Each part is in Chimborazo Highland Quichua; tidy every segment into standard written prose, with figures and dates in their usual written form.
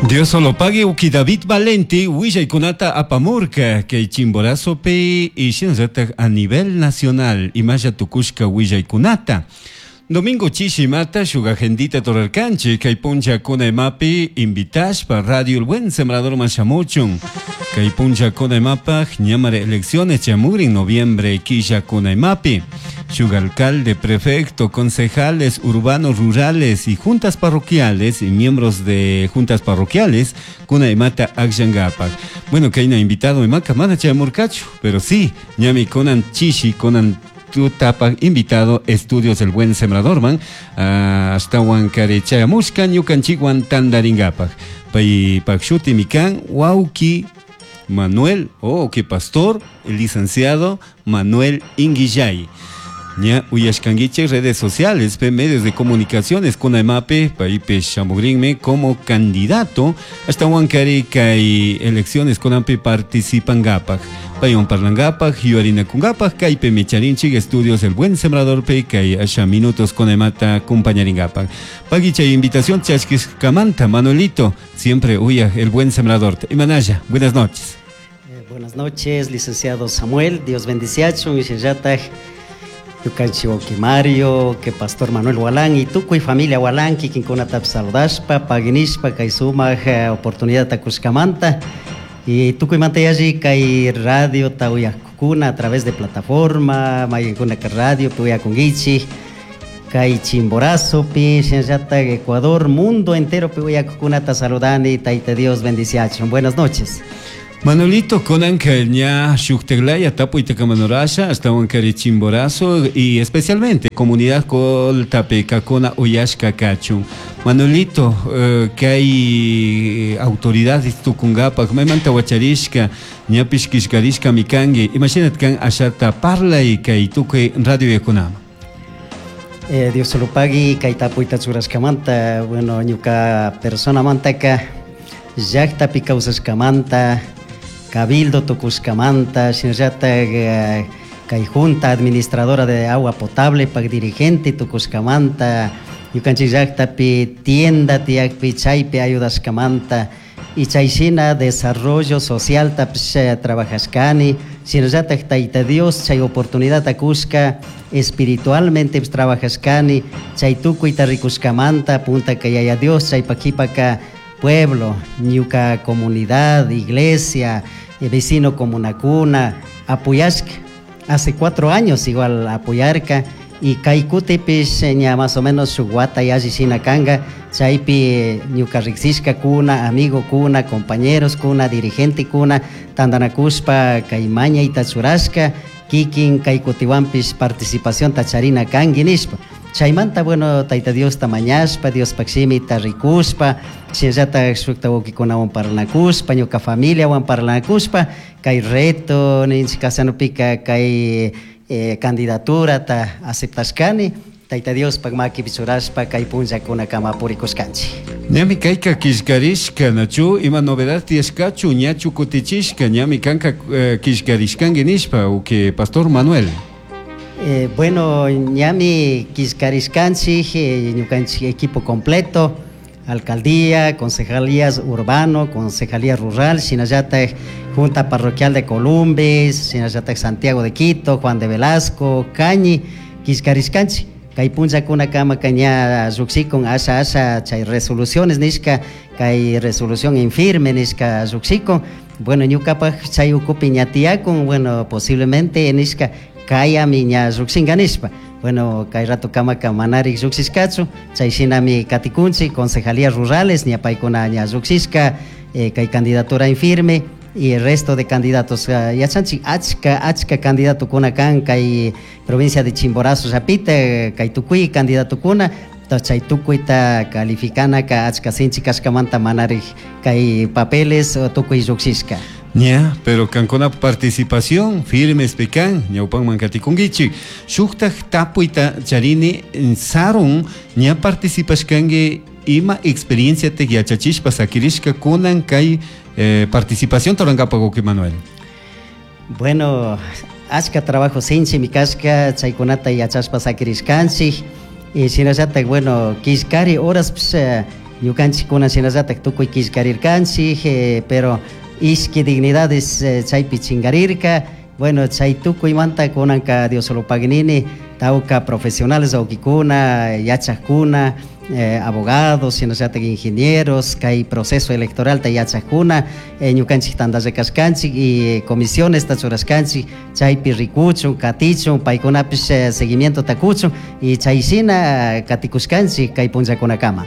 Diosolopagui uki David Valenti willaykunata apamurka kay Chimborazopi y shinallatak a nivel nacional imalla tukushka willaykunata. Domingo chishimata shuk agendita turarkanchik kay punllakuna imapi invitashpa Radio El Buen Sembradorman shamuchun. Kay punllakuna imapaj ñamari elecciones chamugrin noviembre killakuna imapi. Shuk alcalde, prefecto, concejales urbanos, rurales y juntas parroquiales y miembros de juntas parroquiales kuna imata akllankapak. Bueno, kayna invitado imaka mana chayamurkachu, pero sí, ñami kunan chishi, kunan tutapaj invitado Estudios El Buen Sembradorman ashtawan kari chayamushka ñukanchikwan tandarinkapak. Paypak shutimi kan wawki Manuel, oh, que pastor, el licenciado Manuel Inguillay. Ña uyashkanguichik redes sociales, pe medios de comunicaciones kuna imapi paypish shamugrinmi como candidato ashtawan kari kay elecciones kunanpi participangapak. Paywan parlangapak, yuyarinakungapak kaypimi charinchik Estudios El Buen Sembrador pe kay asha minutos kuna imata acompañaringapak. Pagui chay invitación chashkishkamanta, Manuelito, siempre uyaj El Buen Sembrador. Imanalla, buenas noches. Buenas noches, licenciado Samuel. Dios bendiciachun y shinallataj ñukanchik wawki Mario, que pastor Manuel Walán y tukuy familia Walán kikinkunatapish saludashpa, paginishpa kay sumak oportunidadta kushkamanta y tukuymanta yalli kay radiota uyajkuna a través de plataforma, mayqinkunaka radiopi uyakunkichik, kay Chimborazopi, shinallatak Ecuador, mundo enteropi uyakukunata saludani, Tayta Dios bendiciachun. Buenas noches. Manuelito, kunanka ña shuktaklaya tapuyta kamanurasha ashtawan kari Chimborazo y especialmente comunidad Coltapi kakuna uyashka kachun. Manuelito, kay autoridades tukungapak maymanta wacharishka ñapish killkarishkami kanki, imashinat kan ashata parlay kay tukuy radio yakunaman. Diosolopagui kay tapuyta churashkamanta, bueno, ñuka personamantaka llaktapi kawsashkamanta, cabildo tukushkamanta, shinallatak kay junta administradora de agua potable pak dirigente tukushkamanta, ñukanchik llaktapi tienda tiyakpi chaypi ayudashkamanta, y chay shina desarrollo socialtapish trabajashkani, shinallatak Tayta Dios chay oportunidadta kushka espiritualmente trabajashkani, chay tukuyta rikushkamanta puntaka Yaya Dios chaypak kipaka pueblo, ñuka comunidad, iglesia, vecino comunakuna apoyashka. Hace 4 años igual apoyarka y kay kutipish ña más o menos shuk wata yalli shina kanka, chaypi ñuka riksishkakuna, amigokuna, compañeros kuna, dirigente kuna tantanakushpa kay mañayta churashka, kikin kay kutiwanpish participacionta charina kanki nishpa. Chaymanta, bueno, Tayta Diosta mañashpa, Diospak shimita rikushpa, shinallatak shukta wawkikunawan parlanakushpa, ñuka familiawan parlanakushpa, kay reto ninchik kasanupika kay candidaturata aceptashkani, Tayta Diospak makipi churashpa kay punllakunakama purikushkanchik. Ñami kayka killkarishka, nachu ima novedad tiyashkachu, ñachu kutichishka, ñami kanka killkarishkanki nishpa, uki Pastor Manuel. Bueno, ñami killkarishkanchik, ñukanchik equipo completo, alcaldía, concejalías urbano, concejalía rural, shinallatak Junta Parroquial de Columbis, shinallatak Santiago de Quito, Juan de Velasco, Cañi, killkarishkanchik. Kay punllakunakama ña llukshikun asha asha chay resoluciones nishka, kay resolución en firme nishka llukshikun. Bueno, ñukapak chay ukupi ña tiyakun, bueno, posiblemente nishka kayami ña llukshinka nishpa. Bueno, kay rato kamaka manarik llukshishkachu, chay shinami katikunchik, concejalías rurales ña paykuna ña llukshishka, kay candidatura en firme y el resto de candidatos. Yachanchik achka, achka candidatokuna kan kay provincia de Chimborazo llapita, kay tukuy candidatokuna, chay tukuyta calificanaka achka sinchi kashkamanta manarik kay papeles tukuy llukshishka. Ña, pero kankuna participación firmes pekan, ñawpanman katikunkichik. Shuktak tapuyta charini sarun ña participashkanki ima experiencia te yachachishpa sakirishka kunan kay participación torankapak uki Manuel. Bueno, achka trabajo sinchi mi kashka, chaykunata yachashpa sakirishkanchik. Y shinallatak, bueno, killkari horas, pues, Ñukanchikkuna shinallatak tukuy killkarirkanchik, pero ishki dignidades chaypi chingarirka. Bueno, chay tukuymanta kunanka Diosolopak nini, tawka profesionales wawkikuna, yachakuna, abogados, shinallatak ingenieros, kay proceso electoralta yachakuna, ñukanchik tantalla kashkanchik y comisionesta churashkanchik, chaypi rikuchun, katichun, paykunapish seguimientota kuchun y chay shina katikushkanchik kay punllakunakama.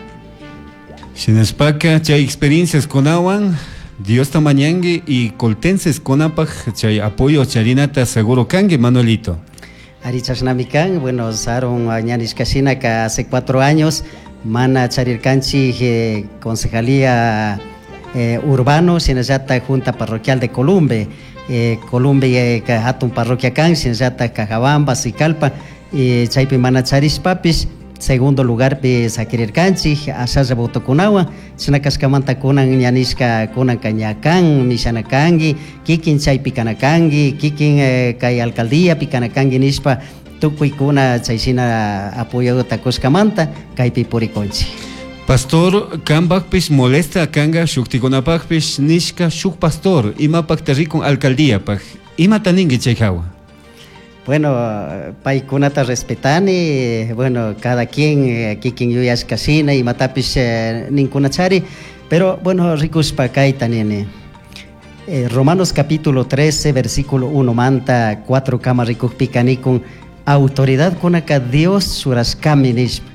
Shinashpaka chay experiencias kunawan Diosta mañangi y coltenses kunapaj chay apoyo charinata seguro kangi, Manuelito. Ari chashnami kan, bueno, Sarun ña nishkashinaka hace 4 años mana charirkanchik concejalía urbano, shinallata junta parroquial de Columbe. Columbe hatun parroquia kan, shinallata Cajabamba, Sicalpa, chaypi mana charishpapish segundo lugarpi sakirirkanchik ashalla votokunawan. Chashna kashkamanta kunan ña nishka kunanka ña kan mishana kanki, kikin chaypi kana kanki, kikin kay alcaldíapi kana kanki nishpa tukuykuna chayshina apoyota kushkamanta kaypi purikunchik. Pastor, kambakpish molesta kanga shuktikunapakpish nishka shuk pastor imapakta rikun alcaldíapaj, imata ninki chay hawa? Bueno, paykunata respetani, bueno, cada quien kikin yuyashka shina imatapish ninkunachari, pero bueno, rikushpa kayta nini. Romanos capítulo 13, versículo 1 manta 4 kama rikukpika nikun autoridad kunaka Dios churashkami nishpa.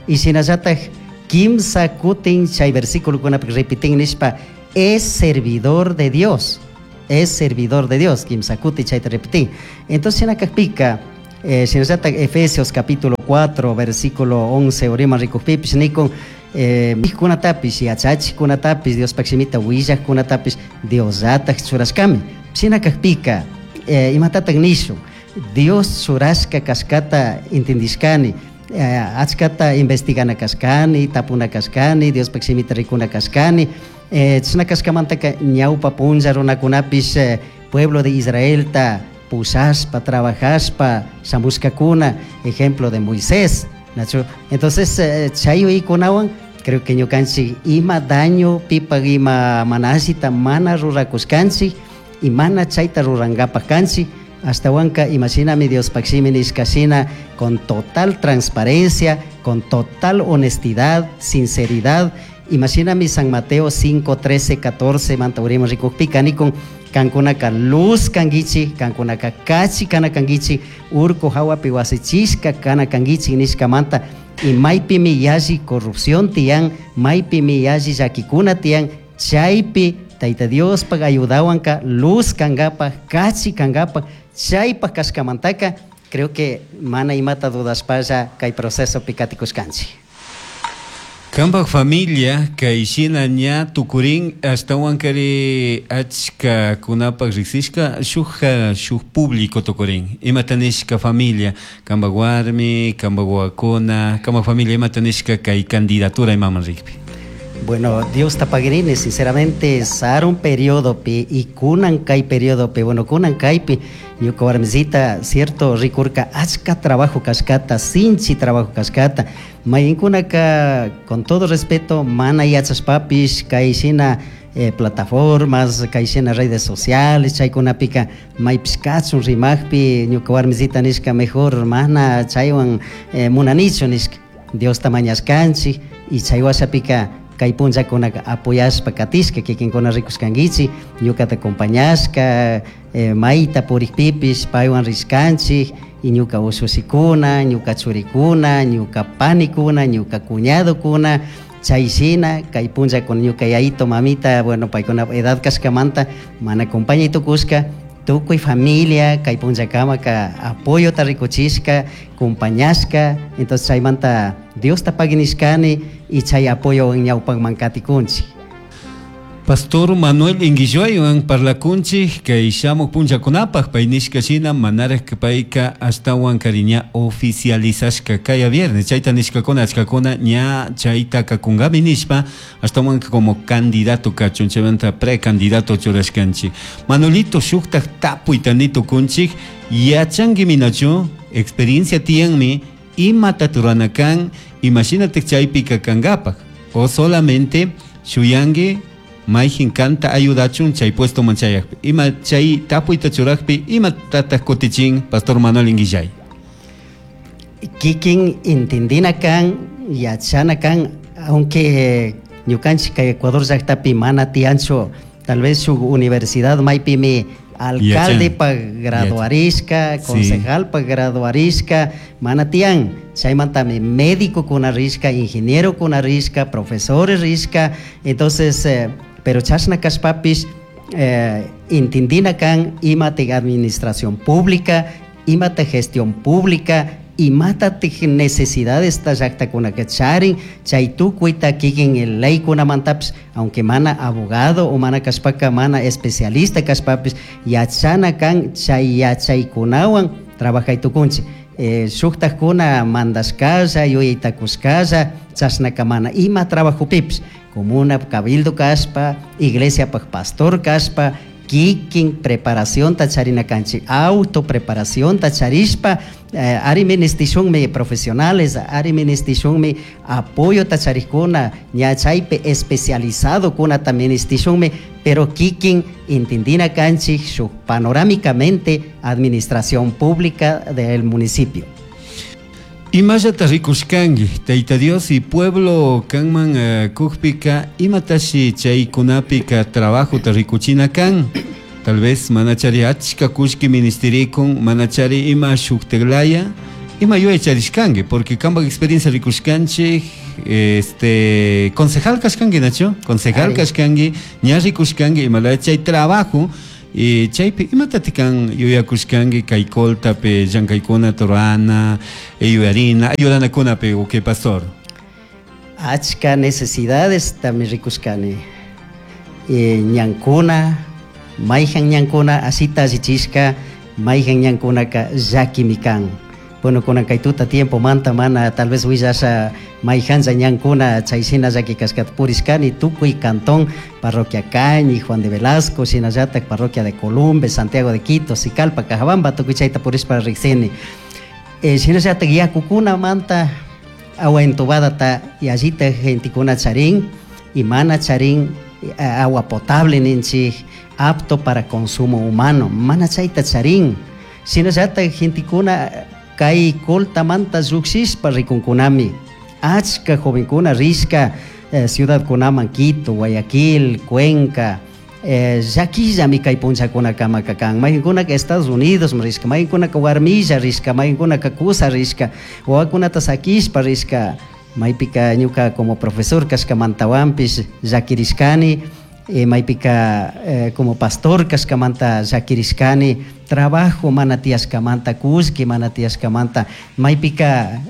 Y shinallatak kimsa kutin chay versículo kunapi repitin nishpa, es servidor de Dios. Es servidor de Dios, kimsa kuti chayta repitin. Entonces, shinakakpika, shinallatak Efesios capítulo 4, versículo 11, urima rikukpipish nikun, mijkunatapish, yachachikkunatapish, Diospaj shimita willajkunatapish, Diosllatak churashkami. Shinakakpika, imatatak nishun, Dios churashka kashkata entendishkani, achkata investigana kashkani, tapuna kashkani, Diospaj shimita rikuna kashkani. Chashna kashkamantaka ñawpa punlla runakunapish, pueblo de Israelta pushashpa, trabajashpa shamushkakuna, ejemplo de Moisés, nachu. Entonces, chay uykunawan creo que ñukanchik ima daño pipak ima mana allita mana rurakushkanchik y mana chayta rurankapak kanchik, ashtawanka imashinami Diospaj shimi nishka shina, con total transparencia, con total honestidad, sinceridad. Imashinami San Mateo 5, 13, 14, manta urima rikukpika nikun, kankunaka luz kangichi, kankunaka kachi kana kangichi, urku hawapi wasichishka kana kangichi nishka manta, y maypimi yalli corrupción tiyan, maypimi yalli llakikuna tiyan, chaypi Tayta Diospaj ayudawanka luz kankapaj, kachi kankapaj, chaypaj kashkamantaka, creo que mana imata dudaspalla kay procesopi katikushkanchik. Kambaj familia kay shina ña tukurin ashtawankari achka kunapaj riksishka shuk público tukurin. Imata nishka familia, kambaj warmi, kambaj wawakuna, kambaj familia imata nishka kay candidatura imaman rikpi. Bueno, Dios tapagrini, sinceramente, sarun periodo pi y kunan kay periodo pi, bueno, kunan kaypi, ñuka warmisita, cierto, rikurka, achka trabajo kashkata, sinchi trabajo kashkata, mayinkunaka, con todo respeto, mana yachashpapish, kay shina, plataformas, kay shina redes sociales, chaykunapika, maypish kachun rimajpi, ñuka warmisita nishka mejor, mana chaywan, munanichu nishka, Dios tamañashkanchik, y chaywashapika, kay punllakunaka apoyashpa katishka, kikinkuna rikushkankichik, ñukata acompañashka, mayta purikpipish paywan rishkanchik, y ñuka ushussikuna, ñuka churikuna, ñuka panikuna, ñuka cuñadokuna, chay shina, kay punllakuna ñuka yayito, mamita, bueno, paykuna edad kashkamanta, mana acompañay tukushka, tukuy familia, kay punllakamaka apoyota rikuchishka, acompañashka, entonces chaymanta Diosta paginishkani y chay apoyo ñawpakman katikunchik. Pastor Manuel Inguilluaywan parlakunchik kay shamuk punllakunapaj pay nishka shina manaraj payka ashtawan kari ña oficializashka kaya viernes chayta nishkakuna achkakuna ña chayta kakunkami nishpa ashtawan como candidato kachun chaymanta precandidato churashkanchik. Manuelito shuktak tapuyta nitukunchik yachanki minachu experiencia tiyanmi imata rurana kan imashinata chaypika kankapaj. O solamente shuyangi mayjin kanta ayudachun chay puestoman chayakpi. Ima chay tapuyta churajpi imatataq kutichin Pastor Manuel Inguillay? Kikin entendina kan, yachana kan, aunque ñukanchik kay Ecuador llaqtapi mana tiyanchu, tal vez shuk universidad maypimi alcalde pa graduarishka, concejal pa graduarishka, mana tiyan. Chaymantami médico rishka, ingeniero rishka, profesores rishka, entonces, pero chashna kashpapish entendina kan imata administración pública, imata gestión pública, imata necesidades ta llaqtakunaka charin, chay tukuyta kikin leykunamantapish, aunque mana abogado o mana kashpaka mana especialista kashpapish, yachana kan chay yachaykunawan trabajay tukunchik. Shuktakuna mandashkalla, yuyaytakushkalla, chashnaka mana ima trabajopipish, comuna cabildo kashpa, iglesiapaj pastor kashpa, kikin preparacionta charina kanchik, auto preparacionta charishpa, ari ministishunmi profesionales, ari ministishunmi apoyota charikuna, ña chaypi especializado kunata ministishunmi, pero kikin entendina kanchik shuk panorámicamente administración pública del municipio. Imallata rikushkanki, Tayta Dios y pueblo kanman kukpika, imatashi chaykunapika trabajota rikuchina kan? Tal vez manachari achka kullki ministerikun, manachari ima shukteglaya, ima yuyay charishkanki, porque kanpak experiencia rikushkanchik, concejal kashkanki, nachu? Concejal kashkanki, ña rikushkanki, imalaya chay trabajo, y chaypi imatati kan yuyakushkanki kay Coltapi llankaykuna rurana, yuyarina, ayudanakunapi, uke pastor? Achka necesidades también rikushkani. Ñankuna, mayjan ñankuna asita allichishka, mayjan ñankunaka llakimi kan. Bueno, kunan kay tuta tiempo manta mana tal vez willasha mayjanlla ñankuna chayshina llaki kashkata purishkani tukuy cantón, parroquia Cañi, Juan de Velasco, shinallatak parroquia de Columbe, Santiago de Quito, Sicalpa, Cajabamba, tukuy chayta purishpa riksini. Shinallatak yakukuna manta agua entubada ta yallita gentekuna charin y mana charin agua potable ninchik, apto para consumo humano, mana chayta charin. Shinallatak gentekuna kay Coltamanta llukshishpa rikunkunami, achka jovenkuna rishka ciudadkunaman, Quito, Guayaquil, Cuenca, llakillami kay punllakunakamaka kan. Maykankunaka Estados Unidos rishka, maykankunaka warmilla rishka, maykankunaka kusa rishka, wawakunata sakishpa rishka. Maypika ñuka como profesor kashkamantawanpish llakirishkani, maypika como pastor kashkamanta llakirishkani, trabajo mana tiyashkamanta, kullki mana tiyashkamanta, maypika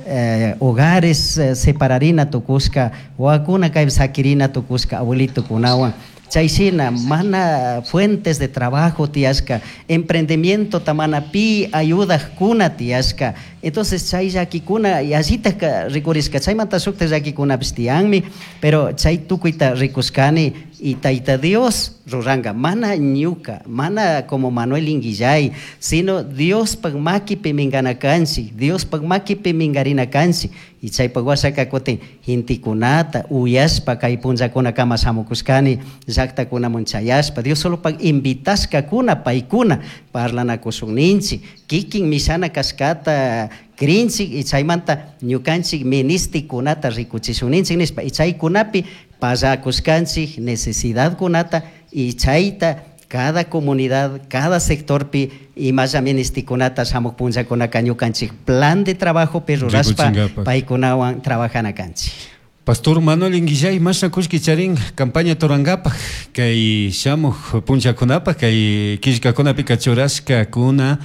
hogares separarina tukushka, wawakuna kaypi sakirina tukushka abuelitokunawan. Chayshina mana fuentes de trabajo tiyashka, emprendimiento mana pi ayudajkuna tiyashka. Entonces chay llakikuna yallitaj rikurishka, chaymanta shukta llakikunapish tiyanmi, pero chay tukuyta rikushkani y Tayta Dios ruranka, mana ñuka, mana como Manuel Inguillay, sino Diospaj makipi minkana kanchik, Diospaj makipi minkarina kanchik. Y chaypaj washaka kutin gentekunata uyashpa kay punllakunakama shamukushkani llaqtakunaman chayashpa, Dios solopaj invitashkakuna paykuna parlanakushunninchik, kikin mishana kashkata krinchik y chaymanta ñukanchik ministikunata rikuchishunninchik nishpa, y chaykunapi pallakushkanchik necesidadkunata y chayta cada comunidad, cada sectorpi imalla ministikunata shamuq punllakunaka ñukanchik plan de trabajo pi rurashpa Rikuchinkapak. paykunawan trabajana kanchik. Pastor Manuel Inguillay, mashna kullki charin campaña turankapak kay shamuq punllakunapaq kay killkakunapika churashkakuna,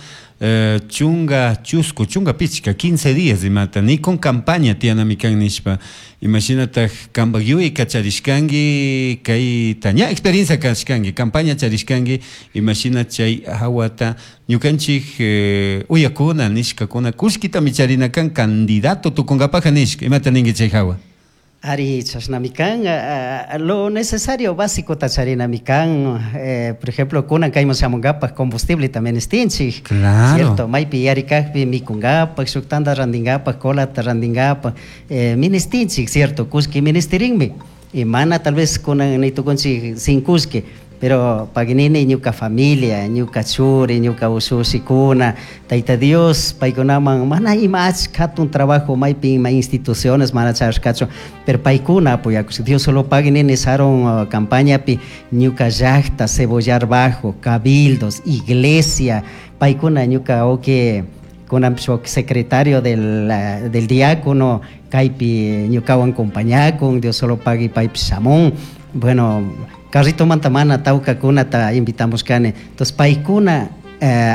chunga chusku, chunga pichka, 15 días imata, ni con campaña tiyanami kan nishpa. Imashinataj kanpak yuyayka charishkanki, kayta ña experiencia kashkanki, campaña charishkanki, imashina chay hawata ñukanchik, uyakuna nishkakuna kullkitami charina kan candidato tukunkapajka nishka, imata ninki chay hawa? Ari, chashnami kan. Lo necesario básicota charinami kan. Por ejemplo, kunan kayman shamunkapak combustibleta ministinchik. Claro. Cierto, maypi yarikakpi mikunkapak, shuk tanda rantinkapak, colata rantinkapak, ministinchik, cierto, kullki ministirinmi. Y mana tal vez kunan nitukunchik sin kullki, pero paginini ñuka familia, ñuka churi, ñuka ushushikuna, Tayta Dios paykunaman mana ima achka hatun trabajo maypi ima instituciones mana charashkachu, pero paykuna apoyakushka. Dios solo paginini sarun campañapi ñuka llakta, Cebollar Bajo, cabildos, iglesia, paykuna ñuka wawki kunanpish wawki secretario del diácono kaypi ñukawan compañakun, Dios solo pagui paypish shamun. Bueno, carritomanta mana tawkakunata invitamushkani, entonces paykuna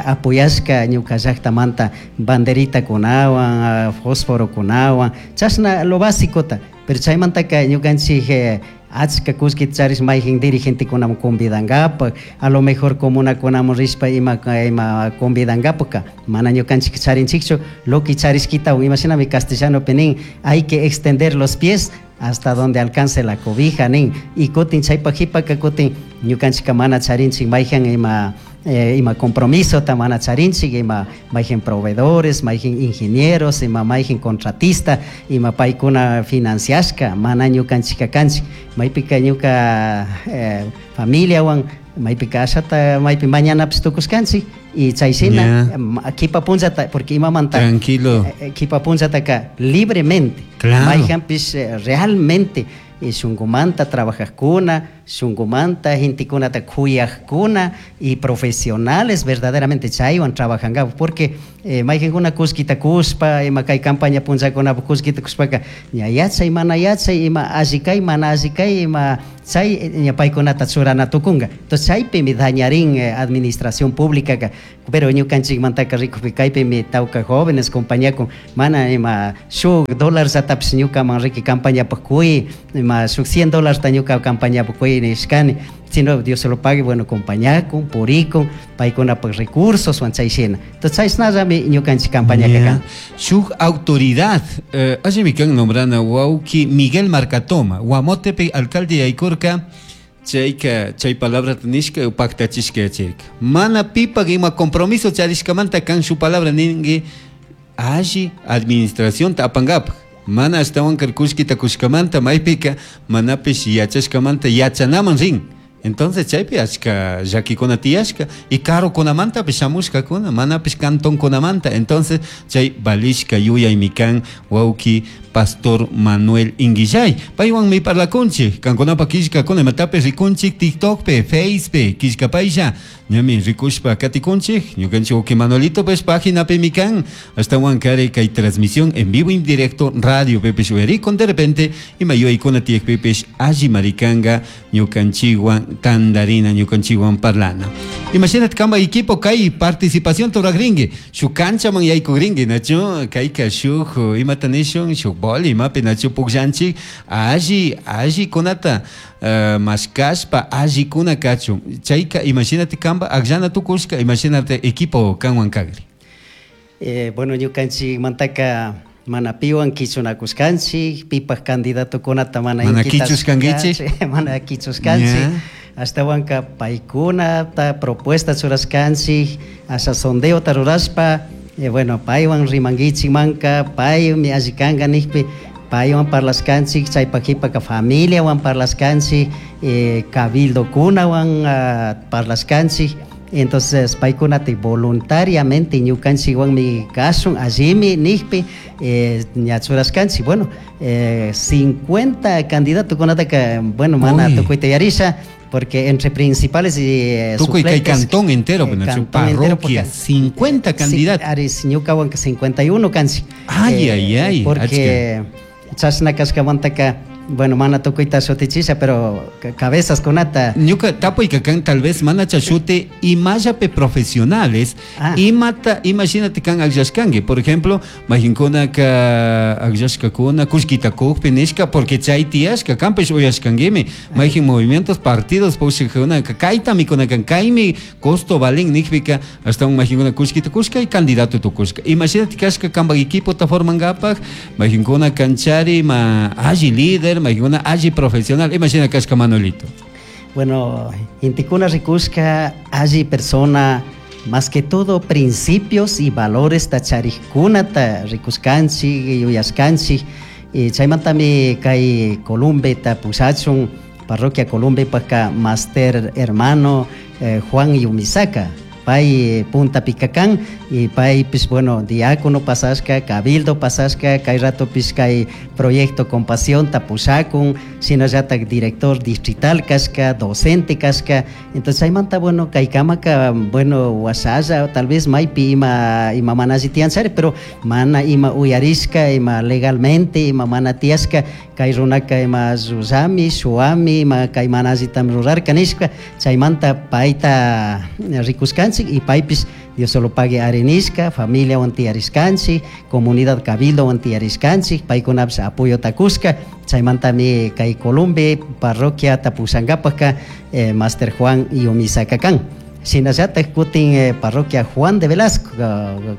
apoyashka ñuka llaktamanta banderitakunawan, fosforokunawan, chashna lo básicota, pero chaymantaka ñukanchik achka kullkita charish mayjin dirigentekunaman convidangapak, a lo mejor comunakunaman rishpa ima ima convidangapaka, mana ñukanchik charinchikchu, lo que charishkitawan, imashinami castellanopi nin, hay que extender los pies hasta donde alcance la cobija nin, y kutin chaypak jipaka kutin ñukanchikka mana charinchik mayjan ima ima compromisota mana charinchik, ima mayjin proveedores, mayjin ingenieros, ima mayjin contratista, ima paykuna financiashka, mana ñukanchikka kanchik, maypika ñuka familiawan maypika ashata maypi mañanapish tukushkanchik, y chay shina kipa punllata, porque imamanta Tranquilo. Kipa punchataka libremente, Claro. mayjanpish realmente shunkumanta trabajajkuna, shunkumanta gentekunata kuyajkuna y profesionales verdaderamente chaywan trabajankapak, porque mayjankuna kullkita kushpa, ima kay campaña punllakunapak kullkita kushpaka, ña yachay, mana yachay, ima alli kay, mana alli kay, ima chay ña paykunata churana tukunka. Entonces chaypimi dañarin administración pública, pero ñukanchikmantaka rikukpi kaypimi tawka jóvenes compañía con mana ima shuk dólarllatapish ñukaman riki campañapak kuy, ima shuk 100 dólarta ñuka campañapak kuy nishkani, sino Dios se lo pague, bueno, compañakun, purikun, paykunapak recursos wan chay shina. Entonces chayshnallami ñukanchik campañaka kan. Shuk autoridad, allimi kan nombrana wawki Miguel Marcatoma, Guamotepe alcalde yaykurka, chayka chay palabrata nishka paktachishka yachirka. Mana pipak ima compromiso charishkamanta kan shu palabra ninki alli administracionta apankapak. Mana ashtawan kullkita kushkamanta maypika manapish yachashkamanta yachanaman rin. Entonces chaypi achka llakikuna tiyashka y karukunamantapish shamushkakuna, manapish cantonkunamanta. Entonces chay valishka yuyaymi kan wawki Pastor Manuel Inguillay. Paywanmi parlakunchik, kankunapa killkakuna imatapish rikunchik TikTokpi, Facepi, killkapaylla ñami rikushpa katikunchik. Ñukanchik wawki Manuelito pues paginapimi kan, ashtawan kari kay transmisión en vivo en directo radio pipish uyarikun, de repente ima yuyaykuna tiyakpipish alli marikanka ñukanchikwan tandarina, ñukanchikwan parlana. Imagínate kamba equipo kay participación turakrinki, shuk kanchaman yaykukrinki, nachu kayka shuk imata nishun, shuk boli imapi nachu pukllanchik, alli, alli kunata mashkashpa alli kuna kachun. Chayka imagínate kamba akllana tukushka, imagínate equipo kanwan kakri. Bueno, ñukanchikmantaka mana piwan kichunakushkanchik, pipak candidatokunata mana Mana inquitaskanchik, kichushkankichik. mana kichushkanchik. Ashtawanka paykunata propuesta churashkanchik, asha sondeota rurashpa, bueno, paywan rimankichikmanka, paymi alli kanka nikpi, paywan parlashkanchik, chaypak jipaka familiawan parlashkanchik, cabildokunawan parlashkanchik. Entonces paykunata voluntariamente ñukanchikwanmi kashun allimi nikpi, ña churashkanchik. Bueno, 50 candidatokunataka, bueno, mana Uy. tukuyta yarisha, porque entre principales y Tukuy kay suplentes, cantón entero, bueno, su cantón entero, parroquia, porque 50 sí, candidatos. Aris, ñukawanka 51 kanchik. Ay, ay, ay, Porque achka. chashna kashkamantaka, bueno, mana tukuyta shutichisha, pero cabezas kunata. Ñuka tapuyka kan tal vez mana chashute imallape profesionales, imata, imagínate kan akllashkanki. Por ejemplo, mayhinkunaka akllashkakuna kullkita kukpi nishka, porque chay tiyashka, kanpish uyashkankimi. Mayhin movimientos, partidos, pushakkunaka, kaytami kunakan, kaymi costo valen nikpika, hasta un mayhinkuna kullkita kushka y candidato tukushka. Imagínate kashka kanpak equipota formankapak, mayhinkuna kanchari ma alli líder, Líder, mayqankuna alli profesional, ima shina kashka, Manuelito? Bueno, intikuna rikushka alli persona, más que todo principios y valores tacharikunata rikushkanchik, yuyashkanchik. Y chaymantami kay Columbeta pushachun, parroquia Columbepaka master hermano Juan Yumisaka pay punta kan y paypis, bueno, diácono pasashka, cabildo pasashka, kay ratopis kay proyecto Compasión pushakun, shinallatak director distrital kashka, docente kashka. Entonces chaymanta, bueno, kay kamaka, bueno, wasalla tal vez maypi ima mana alli tiyanchari, pero mana ima uyarishka, ima legalmente ima mana tiyashka kay runaka ima llullami, shuwami, ima kay mana allitami rurarka nishka. Chaymanta payta rikushkanchik y paypis Dios solo pague ari nishka, familiawan tiyarishkanchik, comunidad cabildowan tiyarishkanchik, paykunapish apoyota kushka. Chaymantami kay Columbe parroquia pushankapaka Master Juan Yumisaka kan. Shinallatak kutin parroquia Juan de Velasco,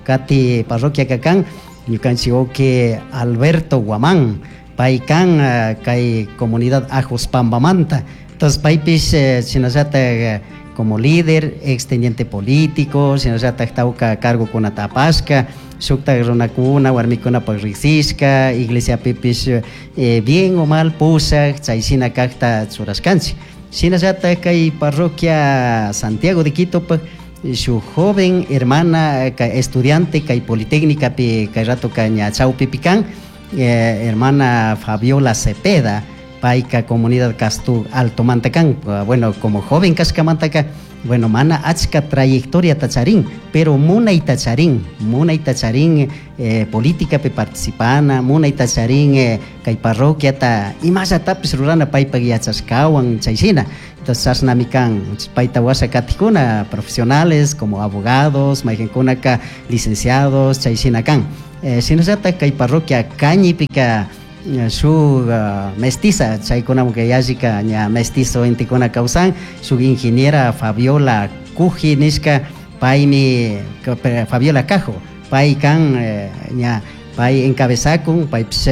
kati parroquia kan ñukanchik wawki Alberto Guamán, pay kan kay comunidad Ajos Pambamanta. Entonces paypish shinallatak como líder, ex teniente político, shinallatak tawka cargokunata apashka, shuktak runakuna, warmikunapak riksishka, iglesiapipish bien o mal pushak, chay shina kakta churashkanchik. Shinallatak kay parroquia Santiago de Quito shuk joven hermana estudiante kay Politécnica kay rato ña chawpipi kan, hermana Fabiola Cepeda, payka comunidad Castú Altomanta kan. Bueno, como joven kashkamantaka, bueno, mana achka trayectoria charin, pero munayta charin, munayta charin políticapi participana, munayta charin kay parroquiata imallatapis rurana paypak yachashkawan chay shina. Entonces chashnami kan, payta washa katikuna profesionales como abogados, mayqinkunaka licenciados, chay shina kan. Shinallatak kay parroquia Cañipika shuk mestiza, chaykunamun yallika ña mestizo intikuna kawsan, shuk ingeniera Fabiola Cuji nishka, paymi Fabiola Cajo, pay kan ña pay encabezakun, paypish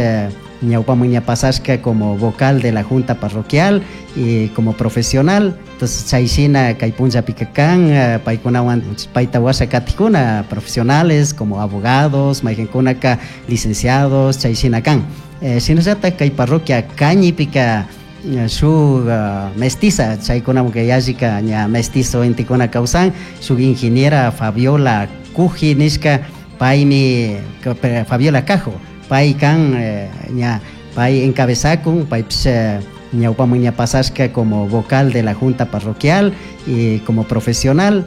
ñawpaman ña pasashka como vocal de la junta parroquial y como profesional. Entonces chay shina kay punllapika kan, paykunawan payta washa katikuna profesionales como abogados, mayqinkunaka licenciados, chay shina kan. Shinallatak kay parroquia Cañipika shuk mestiza, chaykunamun yallika ña mestizo intikuna kawsan, shuk ingeniera Fabiola Cuji nishka, paymi Fabiola Cajo, pay kan ña pay encabezakun, paypish ñawpaman ña pasashka como vocal de la junta parroquial y como profesional.